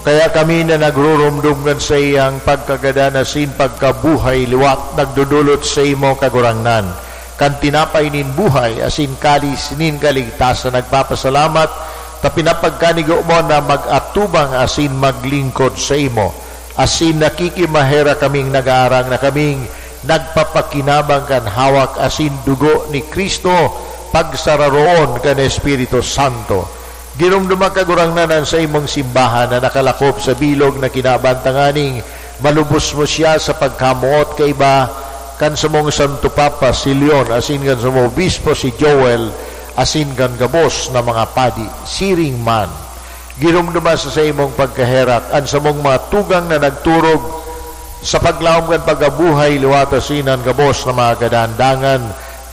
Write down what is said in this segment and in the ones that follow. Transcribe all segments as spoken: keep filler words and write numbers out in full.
Kaya kami na nagrurumdom kan saiyang pagkagadan asin pagkabuhay liwat, nagdodolot saimo, Kagurangnan, kan tinapay nin buhay asin kalis nin kaligtasan, nagpapasalamat ta pinapagkanigo mo na mag-atubang asin maglingkod saimo. Asin nakikimaherak kaming nag-aarang na kaming nagpapakinabang kan hawak asin dugo ni Cristo, pagsararoon kan Espiritu Santo. Giromdoma, Kagurangnan, an saimong simbahan na nakalakop sa bilog na kinaban, tanganing malubos mo siya sa pagkamoot kaiba kan samong Santo Papa, si Leon, asin kan samong Obispo, si Joel, asin kan gabos na mga padi. Siring man, giromdoma sa saimong pagkaherak an samong mga tugang na nagturog sa paglaom kan pagkabuhay liwat asin an gabos na mga kagadan. Dangan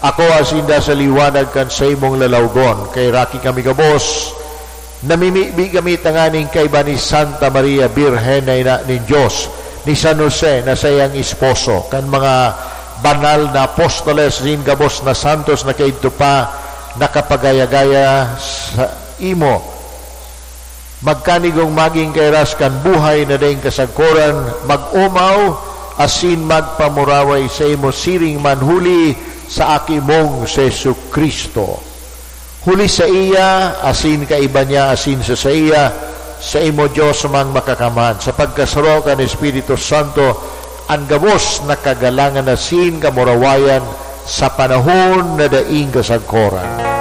ako asin da sa liwanag kan saimong lalawgon. Kaheraki kami gabos, namimibi kami tanganing kaiba ni Santa Maria Birhen na ina nin Dios, ni San Jose na saiyang esposo, kan mga banal na apostoles asin gabos na santos na kaidto pa nakapagaya-gaya saimo. Magkanigong magin kairas kan buhay na daing kasagkoran, mag-omaw asin magpamuraway saimo siring man huli sa Aki mong si Jesu-Cristo. Huli saiya, asin kaiba niya, asin sa saiya, saimo, Dios mang Makakamhan, sa pagkasaro kan Espiritu Santo, an gabos na kagalangan asin kamurawayan sa panahon na daing kasagkoran.